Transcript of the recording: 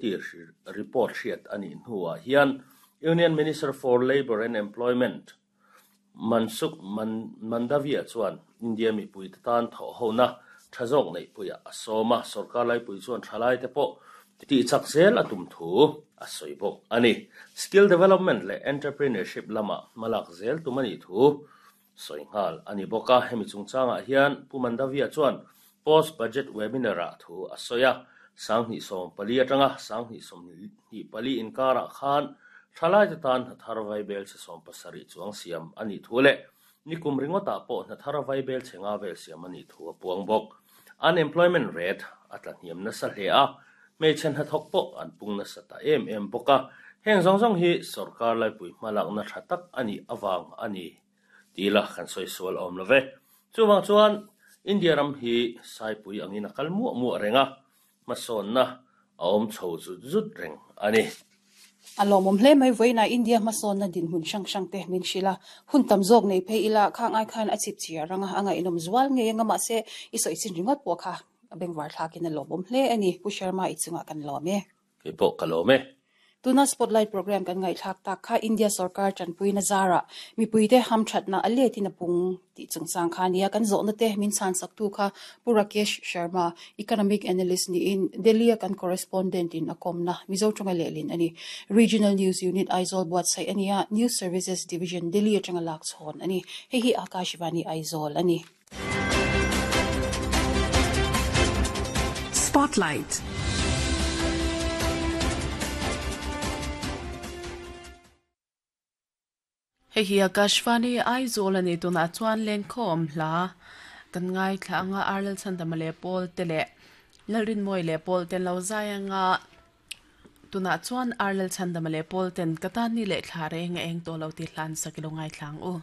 tih report hriat a nih hnuah hian Union Minister for Labour and Employment Mansukh Mandaviya chuan India mipuite tan thawhhona tha zawk neihpuiah a sawm a, sorkar laipui chuan thalaite pawh tihchak zel a tum thu a sawi bawk a ni. Skill development leh entrepreneurship lamah hmalak zel tum a nih thu sawi nghal a ni bawk a. Hemi chungchangah hian Pu Mandaviya chuan Post Budget Webinar-ah thu a sawi a, 2014 atanga 2024 inkarah khan thalaite tan hnathar vaibel chhe 70 chuang siam a nih thu leh nikum ringawtah pawh hnathar vaibel chhe nga vel siam a nih thu a puang bawk. Unemployment rate a tla hniam nasa hle a, hmeichhe hnathawk pawh an pung nasa ta em em bawk a, heng zawng zawng hi sorkar laipui hmalakna tha tak a nih avang a ni tih la kan sawi sual awm lo ve. Chuvang chuan India ram hi Saipui angin a kal muah muah reng a, hmasawnna a awm chho zut zut reng a ni. A lawmawm hle mai vawiinah India hmasawnna dinhmun hrang hrang te min hrilh a, hun tam zawk nei phei ila khang ai khan a chip chhiar anga a ngaihnawm zual ngei anga mahse i sawi chin ringawt pawh kha a bengvar thlakin a lawmawm hle a ni Pu Sharma i chungah kan lawm e. Kei pawh ka lawm e. Tuna Spotlight Programme kan ngaihthlak tak kha India sorkar tanpuina zarah mipuite hamthatna a letin a pung tih chungchang kha a nia. Kan zawhna te min chhansaktu kha Pu Rakesh Sharma, Economic Analyst niin Delhi-a kan correspondent in a kawmna Mizo tawnga lehlin a ni. Regional News Unit Aizawl buatsaih a ni a, News Services Division Delhi atanga lak chhawn a ni. Hei hi Akashvani Aizawl a ni. Spotlight. Hei hi Akashvani Aizawl a ni tunah chuan lenkhawm hla kan ngaithla anga Arlal Chhandama leh Paul te leh Lalrinmawii leh Paul ten lo zai anga tunah chuan Arlal Chhandama leh Paul ten ka tan ni leh thla reng a eng tawh lo tih hlan sak i lo ngaithla ang u.